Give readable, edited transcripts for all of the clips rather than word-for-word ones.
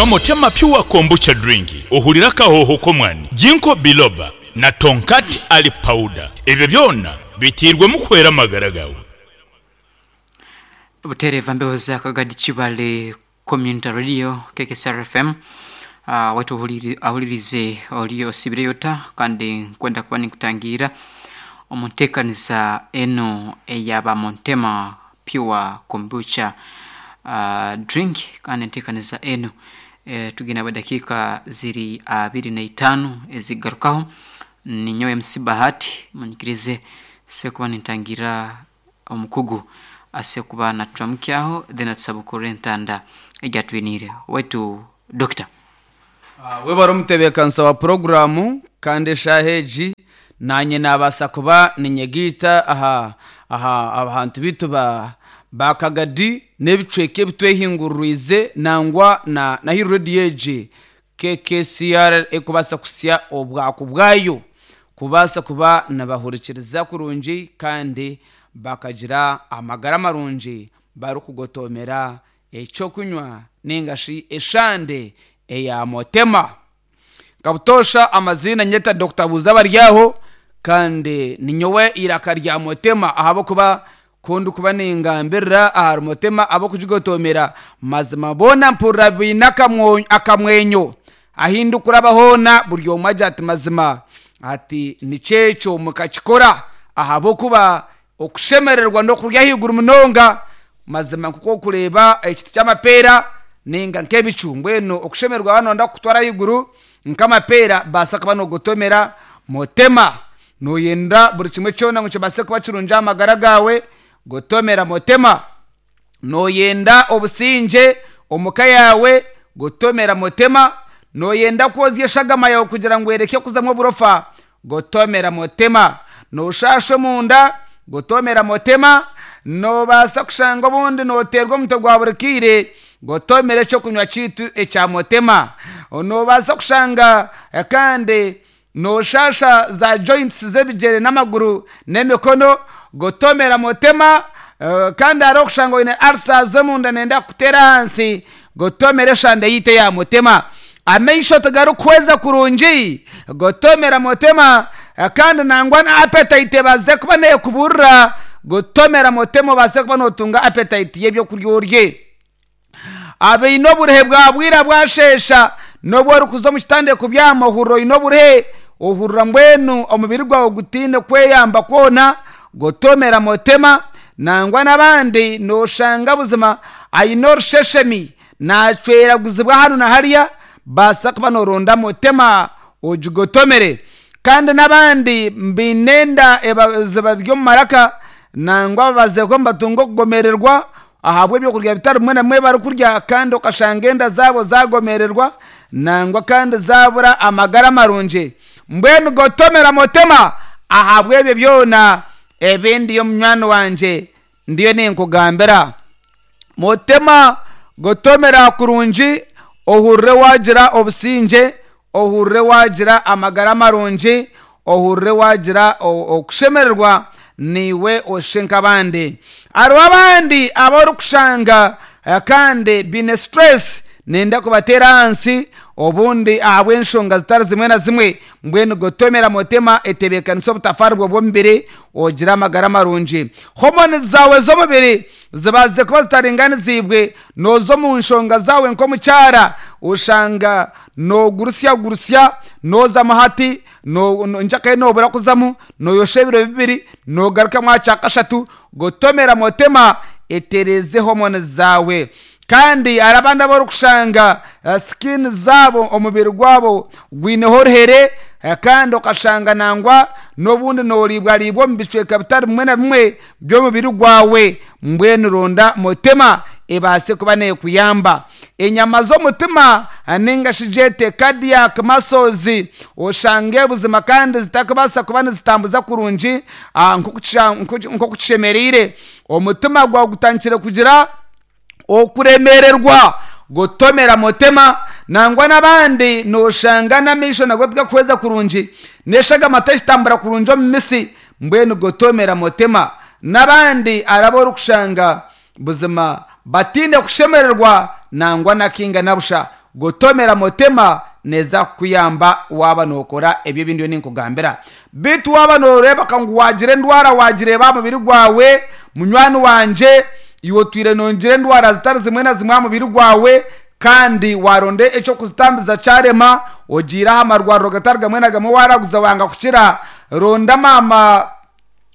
Motema Pure Kombucha Drink, ohurire akahooho k'omwani, Ginkgo Biloba na Tongkat Ali Powder. Ebyo byona biteirwemu kuhwera amagara gaawe. Butereeva mbeho za Kagadi Kibale Community Radio KKCR FM uh, waitu ahuririze ori osibireyo ota kandi nkwenda kuba ninkutangiira omu nteekanisa enu eya Montema Pure Kombucha uh, drink kandi enteekanisa enu eh, tugenda dakiika ziri 25 ezigarukaho. Ninyowe MC Bahati, munyikirize sekuba nintangira omukugu asekuba naturamukyaho, then atusabukura entanda egyatwiniire waitu Doctor. Webare omutebeekanisa wa puroguraamu, kandi eshaaha egi naanye naabaasa kuba ninyegaita aha aha abantu baitu ba ba Kagadi n'ebicweka ebitwehinguririize nangwa na na ahi rediyo egi KKCR erikubaasa kuhitsya obwaku bwayo kubaasa kuba nibahurikiriza kurungi kandi bakagira amagara marungi barikugotomera ekyokunywa ninga shi eshande eya Motema. Nka butoosha amaziina nyeta Dokita Buuza Baryaho kandi ninyowe eiraka rya Motema ahabw'okuba ku ndikuba ningambirira ahari Motema ab'okugigotomera mazima boona mpurira baine akamwenyo. Ahi ndikuraba hoona buri omwe agira ati mazima ati nikyo ekyo mukakikora ahabw'okuba okushemererwa n'okurya ahaiguru munonga. Mazima nk'oku orikureeba ekiti ky'amapeera ninga nk'ebicu, mbwenu okushemererwa waaba nooyenda kukutwara ahaiguru nk'amapeera baasa kuba noogotomera Motema. Nooyenda buri kimwe kyona ngu kibaase kuba kirungi aha magara gaawe, gotomera Motema. Nooyenda obusingye omu ka yaawe, gotomera Motema. Nooyenda kwozya eshagama yaawe kugira ngu ereke kuzamu oburofa, gotomera Motema. Nooshaasha omunda, gotomera Motema. Noobaasa kushanga obundi nooteerwa omutwe gwa buri kaire, gotomera ekyokunywa kyaitu ekya Motema. Noobaasa kushanga kandi nooshaasha za joints z'ebigyere n'amaguru n'emikono, gotomera Motema. Kandi hariho okushanga oine ulcers omunda nenda kukuteera ahansi, gotomera eshande yaitu eya Motema. Amaisho tigarikuhweza kurungi, gotomera Motema. Kandi nangwa na appetite ebaase kuba neekuburira, gotomera Motema obaase kuba nootunga appetite y'ebyokurya orye. Abaine oburuhe bwa bwira bwasheesha, n'obu orikuza omu kitanda kubyama ohurira oine oburuhe, ohurira mbwenu omubiri gwawe gutaine kweyamba kwona, gotomera Motema. Nangwa n'abandi nooshanga buzima aine orusheshemi naacweraguzibwa hanu na hariya, baasa kuba nooronda Motema ogigotomere. Kandi n'abandi baine enda zibari omu maraka, nangwa babaziire nibatunga okugomererwa ahabw'ebyokurya bitari bimwe na bimwe ebi barikurya, kandi okashanga enda zaabo zaagomererwa nangwa kandi zaabura amagara marungi. Mbwenu gotomera Motema ahabw'ebyo byona ebi ndiyo munywani wangye ndiyo ninkugambira. Motema gotomera kurungi ohurire waagira obusingye, ohurire waagira amagara marungi, ohurire waagira okushemererwa naiwe oshushe nk'abandi. Hariho abandi abu orikushanga kandi baine stress nenda kubateera ahansi obundi ahabw'enshonga zitari zimwe na zimwe. Mbwenu gotomera Motema etebeekanisa obutafaari bwawe bw'omubiri ogire amagara marungi. Hormones zaawe z'omubiri zibaasize kuba zitaringaniziibwe, nooza omu nshonga zaawe nk'omukyara oshanga noogurusya-gurusya, noozamu hati, nkyakare noobura kuzamu, nooyosha ebiro bibiri, noogarukamu aha kyakashatu. Gotomera Motema etereeze hormones zaawe. Kandi hariho abandi abu orikushanga skin zaabo, omubiri gwabo gwineho oruhere kandi okashanga nangwa n'obundi nooriibwariibwa omu bicweka bitari bimwe na bimwe by'omubiri gwawe. Mbwenu ronda Motema ebaase kuba neekuyamba. Enyama z'omutima ninga shi gyete cardiac muscles oshange buzima kandi zitakubaasa kuba nizitambuza kurungi nk'oku kishemereire. Omutima gwawe gutandikire kugira okuremererwa, gotomera Motema. Nangwa n'abandi noshanga n'amaisho nago tigakuhweza kurungi, n'eshagama tekitambura kurungi omu mitsi, mbwenu gotomera Motema. N'abandi hariho abu orikushanga buzima bataine kushemererwa nangwa na kainga na busha. Gotomera motema neeza kukuyamba waaba nookora ebyo ebi ndiyo ninkugambira. Beitu waaba nooreebeka ngu waagira endwara waagireeba aha mubiri gwawe, munywani wangye, iwe otwire noogira endwara zitari zimwe na zimwe aha mubiri gwawe, kandi waaronda eky'okuzitambiza kyarema, ogiire aha marwariro gatari gamwe na gamwe waaraguza wanga kukira, ronda maama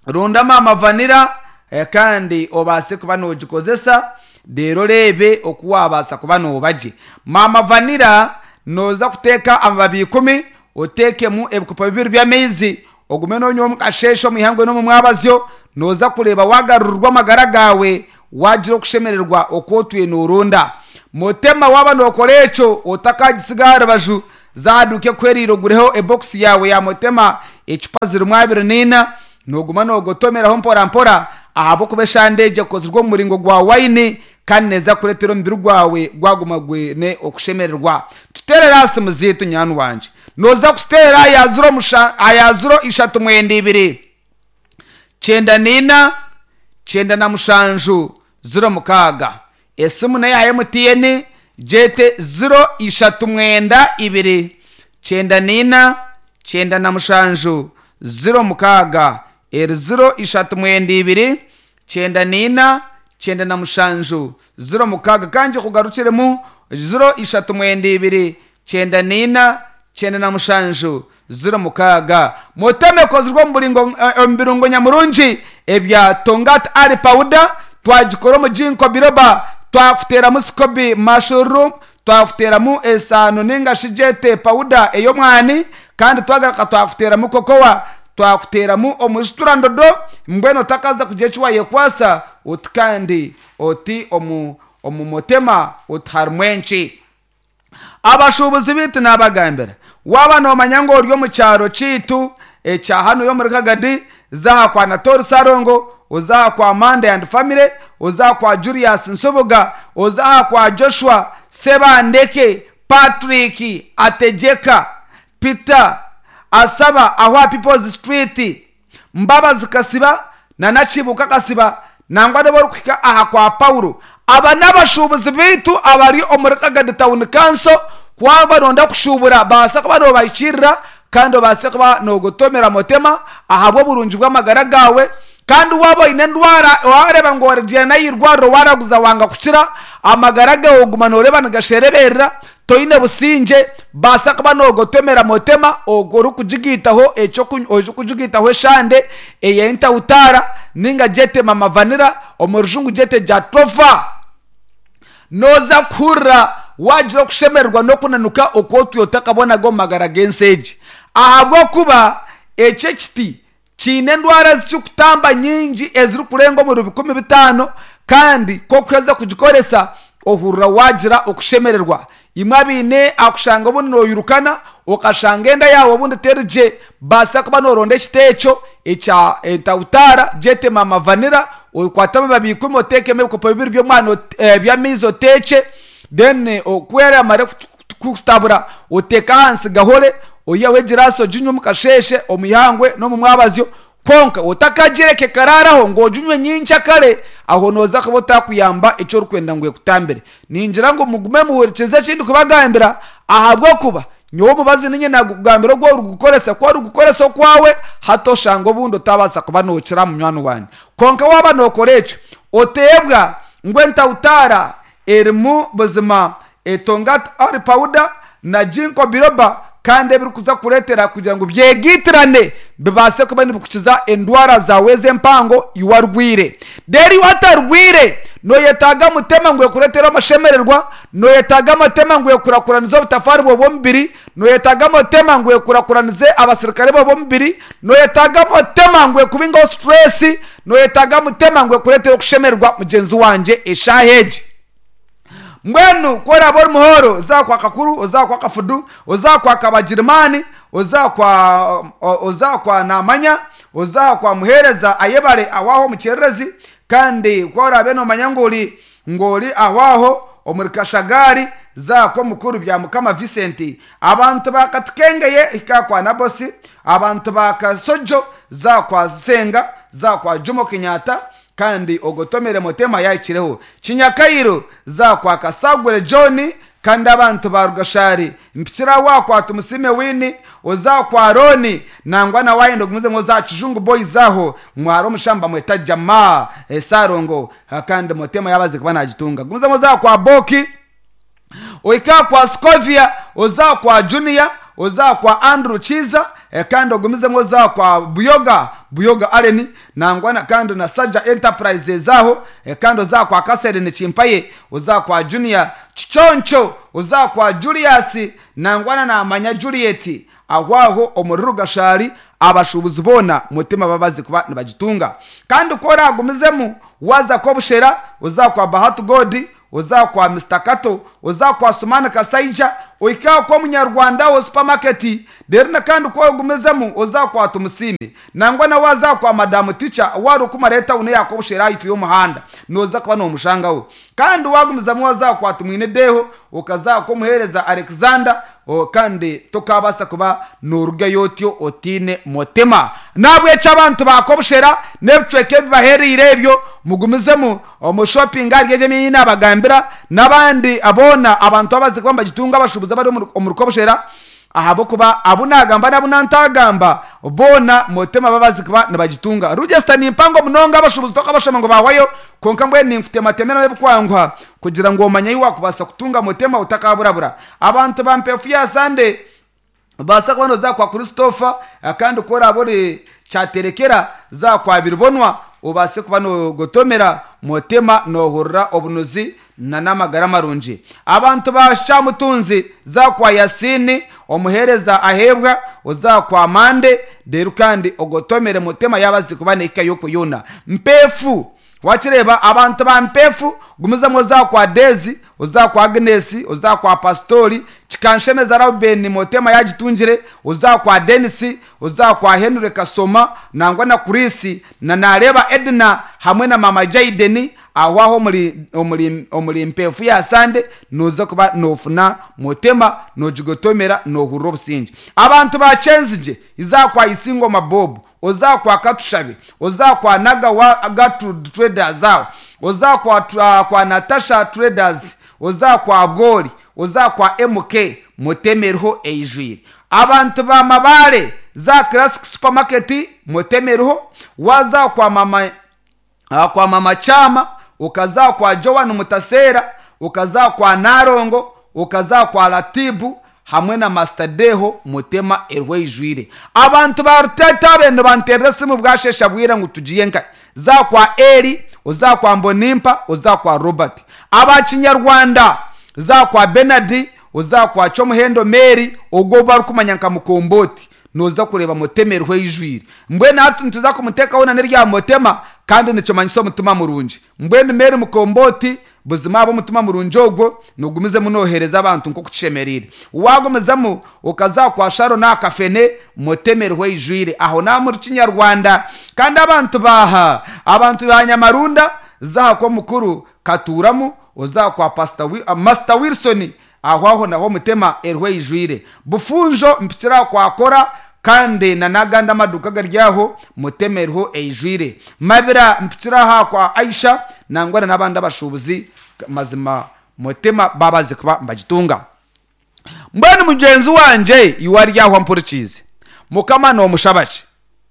ronda maama vanira eh, kandi obaase kuba noogikozesa reero oreebe oku waabaasa kuba nooba gye. Maama vanira nooza kuteeka amababi ikumi oteekemu ebikopo bibiri by'amaizi ogume noonywa omu kasheeshe omu ihangwe n'omu mwabazyo, nooza kureeba waagarurirwa amagara gaawe waagira okushemererwa oku otwire nooronda. Mutema waaba nookora ekyo otakaagisiga aha rubaju, za aha duuka ekuhwereire ogureho ebokisi yaawe ya Mutema ecupa zirimu abiri naina, nooguma noogotomeraho mpora mpora ahabw'okuba eshande egyo ekozirwe omu muringo gwa waini kandi neeza kukureetera omubiri gwawe gwaguma gwine okushemererwa. Tuteerere aha simu zaitu nywani wangye. Nooza kututeerera aha ya ziro musha aha ya ziro ishatu mwenda ibiri, kyenda naina, 97, 06. Esimu n'eya MTN, gyete ziro ishatu mwenda ibiri, 94, 97, 06. Eri ziro ishatu mwenda ibiri, 94, 97, 06. Ka ngikugarukiremu, ziro ishatu mwenda ibiri, 94, 97, 06. Muteme ekozirwe omu buringo, omu birungo nyamurungi ebya Tongat Ali Powder, twagikora omu Ginkgo Biloba, twakuteeramu Scoby Mushroom, twakuteeramu esaano ninga shi gyete pawuda ey'omwani, kandi twagaruka twakuteeramu cocoa, twakuteeramu omujiturandodo, mbwenu otakaza kugira eki wayekwasa oti kandi oti omu omu mutema oti harimu enki. Abashuubuzi baitu naabagambira, waaba noomanya ngu ori omu kyaro kyaitu ekya hanuya omuri Kagadi, za aha kwa Natori Ssalongo, oze aha kwa Mande and Family, oze aha kwa Julius Nsubuga, oze aha kwa Joshua Ssebandeke, Patrick Ategyeka, Peter Asaba aho aha People's Street, Mbabazi Kasiba na Nakibuuka Kasiba nangwa n'obu orikuhika aha kwa Paulo. Aba n'abashuubuzi baitu abari omuri Kagadi Town Council. Ku waaba nooyenda kushuubura baasa kuba noobahikiirira kandi obaase kuba noogotomera mutema ahabw'oburungi bw'amagara gaawe. Kandi waaba oine endwara waareeba ngu origyenda n'aha irwariro waaraguza wanga kukira, amagara gaawe oguma nooreeba nigashereberera, toine busingye, baasa kuba noogotomera mutema ogwo orikugigaitaho eky'okunywa orikugigaitaho eshande ey'entahutaara nainga gyete mama vanira, omu rujungu gyete jatropha. Nooza kuhurira waagira okushemererwa n'okunanuka oku otwire otakabonaga omu magara g'ensi egi. Ahabw'okuba eki ekiti kiine endwara ezi kirikutamba nyingi ezirikurenga omuri 5000 kandi ku orikuheza kugikoresa ohurira waagira okushemererwa. Imwe abaine akushanga obundi noyirukana okashanga enda yaawe obundi teri gye, baasa kuba nooronda ekiti ekyo ekya entahutaara gyete mama vanira okwate amababi ikumi oteekemu ebikopo bibiri by'omwani by'amaizi oteekye then ku eramare kukutabura oteeke ahansi gahore oiheho egiraasi oginywe omu kasheeshe omu ihangwe n'omu mwabazyo Kwonka otakagireka ekaraaraho ngu oginywe nyenkyakare, aho nooza kuba otaakuyamba eki orikwenda ngu ekutambire. Ningira ngu mugume muhurikize eki ndikubagambira, ahabw'okuba nyowe omubazi niinye naagukugambira ogu orikugukoresa. Ku orikugukoresa okwawe, hati oshanga obundi otaabaasa kuba nookira munywani wangye. Kwonka waaba nookora ekyo, oteebwa ngu entahutaara erimu buzima Etongat Oil Powder na Ginkgo Biloba kandi ebirikuza kukureetera kugira ngu byegaitirane bibaase kuba nibikukiza endwara zaawe ez'empango iwe arwaire. Reero iwe atarwaire nooyetaaga mutema ngu ekureetere amashemererwa, nooyetaaga mutema ngu ekurakuranize obutafaari bwawe bw'omubiri, nooyetaaga mutema ngu ekurakuranize abasirikare baawe b'omubiri, nooyetaaga mutema ngu ekubingeho situreesi, nooyetaaga mutema ngu ekureetere okushemererwa mugyenzi wangye eshaaha egi. Mbwenu ku oraabe ori muhooro, oze aha kwa Kakuru, oze aha kwa Kafudu, oze aha kwa Kabagirimaani, oze aha kwa oze aha kwa Naamanya, oze aha kwa Muheereza Ayebare aho aho omu Kyererezi, kandi ku oraabe noomanya ngu ori ngu ori aho aho omuri Kashagaari, za aha kw'omukuru Byamukama Vincent. Abantu ba Katikengeye hika aha kwa Nabosi, abantu ba Kasojo za aha kwa Nsenga, za aha kwa Jomo Kenyatta, Kandi ogotomere Mutema yahikireho. Kinyakairo za kwa Kasagure John Kandi abantu ba Rugashari mpikire aho aha kwa Tumusiime Winnie, oze aha kwa Rooni, nangwa na waayenda ogumizemu oze aha Kijungu Boys aho, mwara omushaho nibamweta Jamaa Ssalongo kandi Motema yaaba aze kuba naagitunga. Gumizemu oze aha kwa Boki, ohike aha kwa Scovia, oze aha kwa Junior, oze aha kwa Andrew Kiiza kandi ogumizemu oze aha kwa Buyoga, Buyoga Allen, nangwa na kandi na Saja Enterprises aho, kandi oze aha kwa Catherine Kimpaye, oze aha kwa Junior Kiconco, oze aha kwa Julius, nangwa na Namanya Juliet, aho aho omuri Rugashari abashuubuzi boona Mutima babazi kuba nibagitunga. Kandi ku oragumizemu waaza Kobushera, oze aha kwa Bahati God, oze aha kwa Mister Kato, oze aha kwa Sumani Kasaija, ohike aha kwa Omunyarwanda aho supermarket, reero na kandi ku ogumizemu oze aha kwa Tumusiime, nangwa na waaza aha kwa Madamu Teacher owaarikumara etawuni eya Kobushera ahaifo y'omuhanda, nooza kuba noomushangaho. Kandi waagumizamu waaza aha kwa Tumwine Deho, okaza aha kw'omuheereza Alexander, kandi tokaabaasa kuba noorugayo otyo otaine mutima. N'ahabw'ekyo abantu ba Kobushera n'ebicweka ebibahereire ebyo, mugumizemu omu shopping ahari egyo emyanya ei naabagambira, n'abandi boona abantu ababaasize kuba nibagitunga abashuubuzi abari omuri Kobushera, ahabw'okuba abu naagamba n'abu nantagamba boona Motema babaasize kuba nibagitunga. Rugyesita ni mpango munonga abashuubuzi tokabashoma ngu baahwayo, kwonka mbwenu ninkutematema ebikwanguha kugira ngu omanye ahu waakubaasa kutunga Motema otakaburabura. Abantu ba Mpeefu ya Sande Obaasa kuba nooza kwa Christopher kandi ku oraabe ori Kyaterekera za kwa Biribonwa obaase kuba noogotomera Motema noohurira obunuzi n'amagara marungi. Abantu ba Kyamutunzi za kwa Yasini omuheereza aheebwa oza kwa Mande reero kandi ogotomere Motema yaaba azi kuba nehika y'okwo yoona. Mpeefu Wakireeba abantu ba Mpeefu gumizamu oza kwa Deezi, oza kwa Agnes, oza kwa Pasitori, Kikanshemeza Rauben Motema yagitungire, oza kwa Denis, oza kwa Henry Kasoma nangwa na Chris na nareeba Edna hamwe na mama Jayden aho aho omuri omuri omuri Mpeefu ya Sande noza kuba nofuna Motema nogigotomera nohurira obusingye. Abantu ba Kyenzigye iza kwa Isingoma Bob, Oza kwa Katushabe, oza kwa Nagawa Gertrude Traders aho, oza kwa kwa Natasha Traders, oza kwa Bwori, oza kwa MK mutemerho eijwire. Abantu ba Mabale za Classic Supermarket mutemerho, waza kwa mama kwa mama Kyama, okaza kwa Joan Mutaseera, okaza kwa Nalongo, okaza kwa Latibu hamwe na Master Deho Mutema eriho eijwire. Abantu ba Rutete abe nibanteerera esimu bwasheesha bwira ngu tugiye nkahi? Za kwa Eli, oza kwa Mbonimpa, oza kwa Robert. Aba Kinyarwanda, za kwa Bernard, oza kwa Kyomuhendo Mary ogwo ou barikumanya nka Mukombooti. Nooza kureeba Mutema eriho eijwire. Mbwenu hati nituza kumuteekaho na n'erya Mutema kandi nikimanyisa omutima murungi. Mbwenu Mary Mukombooti buzima ahabw'omutima murungi ogwo noogumizemu nooheereza abantu nk'oku kishemereire. Waagumizamu okaza kwa Sharon aha Kafene, Mutema eriho eijwire. Aho n'aha omuri Kinyarwanda. Kandi abantu ba abantu ba Nyamarunda, za aha kw'omukuru Katuuramu, oze aha kwa Pastor Master Wilson, Aho aho naho Mutema eriho eijwire. Bufunjo mpikire aha kwa Kora kandi na n'agandi amaduuka agari aho Mutema eriho eijwire. Mabira mpikire aha kwa Aisha nangwa na n'abandi abashuubuzi mazima Mutema baabaze kuba nibagitunga. Mbwenu mugyenzi wangye iwe ari aho ampurikiize, Mukama noomushaba ki?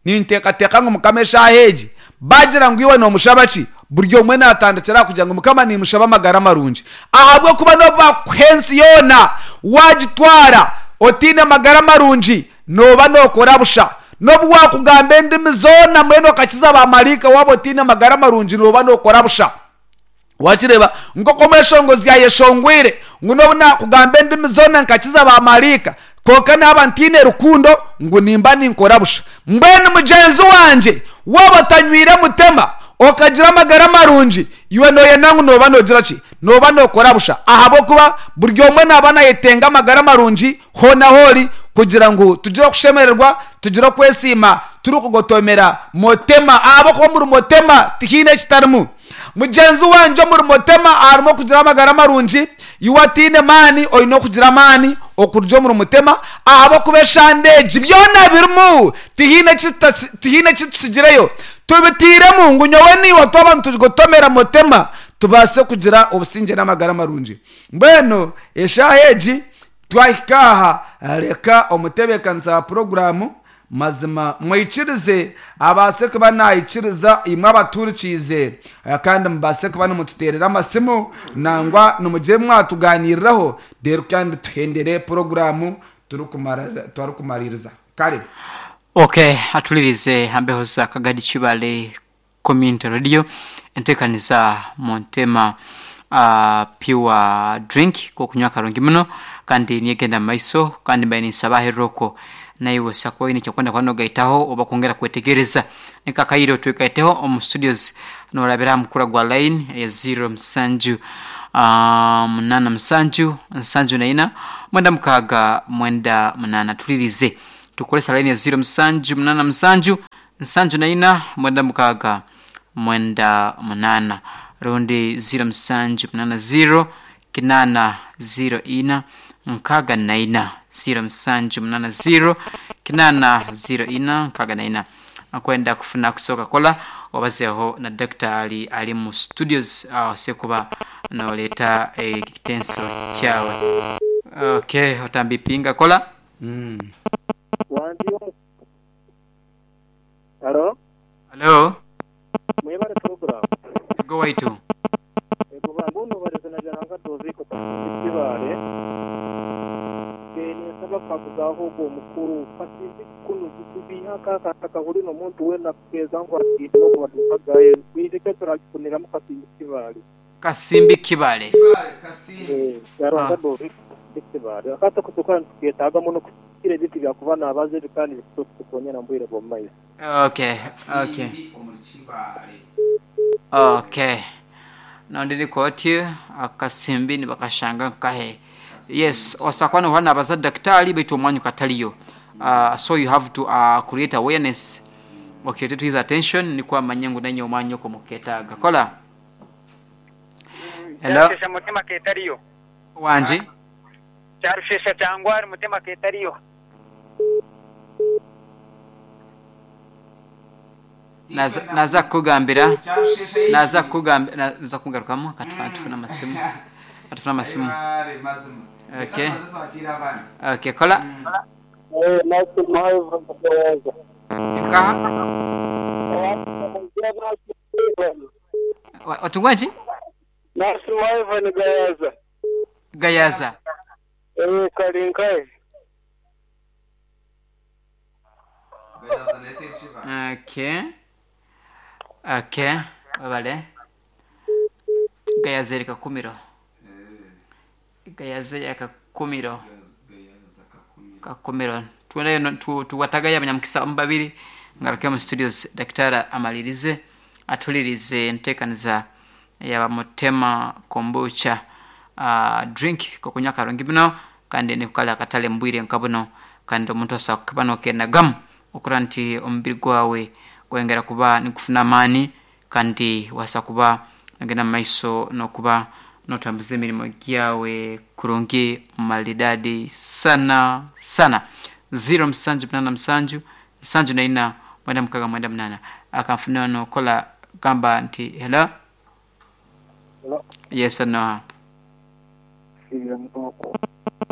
Ninteekateeka ngu Mukama eshaaha egi baagira ngu iwe noomushaba ki, buri omwe naatandikira aha kugira ngu Mukama niimushaba amagara marungi. Ahabw'okuba n'obu baakukuha ensi yoona waagitwara otaine magara marungi, nooba nookora busha. N'obu waakugamba endimi zoona mbwenu okakiza baamaraika waaba otaine magara marungi nooba nookora busha. Wakireeba? Nk'oku omweshongozi yaayeshongwire ngu n'obu naakugamba endimi zoona nkakiza baamaraika, kwonka naaba ntaine rukundo, ngu nimba ninkora busha. Mbwenu mugyenzi wangye, waaba otanywire mutima, okagira amagara marungi, iwe nooyenda ngu nooba noogira ki? Nooba nookora busha. Ahabw'okuba buri omwe naaba naayetenga amagara marungi hoona ahu ori, kugira ngu tugire okushemererwa, tugire okwesiima turikugotomera Mutema. Ahabw'okuba omuri Mutema tihaine ekitarimu. Mugyenzi wangye omuri Mutema harimu okugira amagara marungi, iwe ataine maani oine okugira amaani okuruga omuri Mutema ahabw'okuba eshande egi byona birimu tihaine eki tutsigireyo. Tubiteiremu ngu nyowe naiwe twaba nitugotomera Mutema. Tubaase kugira obusingye n'amagara marungi. Mbwenu eshaaha egi twahika aha, reka omutebeekanisa wa puroguraamu mazima mwikirize abaase kuba naikiriza imwe abaturikiize, kandi mubaase kuba nimututeerera amasimu nangwa nimugire mwatuganiriraho, reero kandi tuhendere puroguraamu turikumaririza. Kare. Okay, atulirize hambeho za Kagadi Kibale Community Radio entekaniza Montema Pure Drink kokunywa karungi muno kandi niyegenda mumaiso kandi mbaire ninsaba aherera okwo naiwe osobola kuba oine ekyokwenda kuba nogaitaho oba kwongera kwetegereza. Niko akaire otwegaiteho omu studios norabira aha mukura gwa line eya ziro musanju munaana musanju nsanju na ina mwenda mukaaga mwenda munaana. Tulirize tukukoresa line ya ziro musanju munaana musanju nsanju na ina mwenda mukaaga mwenda munaana rundi ziro musanju munaana ziro kinaana ziro ina nkaaga na ina ziro musanju munaana ziro kinaana ziro ina nkaaga na ina. Akwenda kufuna kusoka kola obazeho na daktari ali mu studios ase kuba noleeta ekitenso kyawe. Okay, otambipinga kola. Wangi. Halo? Hello? Mwebale program. Go waitu. Ego bambuno baleze na jananga doziko kibale. Nisaba kakuzaho ogwo omukuru kasinzi kuno kutubiha kakataka buli n'omuntu weena kuteeza ngu atiine n'okubadumpagayo kwije turagifuniramu kasimbi kibale. Kasimbi Kibale. Yaranga doziko kibale. Akata kutukana tuketaaga muno kukira ebintu byakuba nabaza ebi kandi bitutukonyera mu bwire bw'omu maiso. Okay, okay. Okay. Nondiri koti akasimbi nibakashanga nkahe. Yes, osakwa nohana nabaza daktari baitu omwanya kataliyo. So you have to create awareness. Okirete to his attention nikwo amanye ngu nanye omwanya okwo muketaaga. Kola. Hello. Kyarushesha mutima ketariyo. Wangi. Kyarushesha kyangwari mutima ketariyo. Naza kukugambira, naza kukugambira, naza kugarukamu katufana tufuna amasimu. Katufuna amasimu. Okay. Okay, kola. Nkaha. Watungwanji? Nasima Ivan Gayaza. Gayaza. Kalinkai. Okay. Okay, babale. Gayaza eri Kakumiro. Gayaza ya Kakumiro. Kakumiro. Tuendeyo tuwatagaya abanyamukisa omu babiri ngaruke mu studios daktari amalirize atulirize enteekaniza yaba Mutema kombucha drink kokunywa karungi muno kandi nikukala akatale mbwire nka buno kandi omuntu asobola kuba nokenagamu okura nti omubiri gwawe gwengera kuba nikufuna amaani kandi wasa kuba nogenda mumaiso nokuba notambuza emirimo gyawe kurungi maridadi sana sana. 0 musanju munana musanju nsanju na ina mwenda mukaga mwenda munana akanfuna nokola gamba nti hello. Hello. Yes, no. Sira mutoko.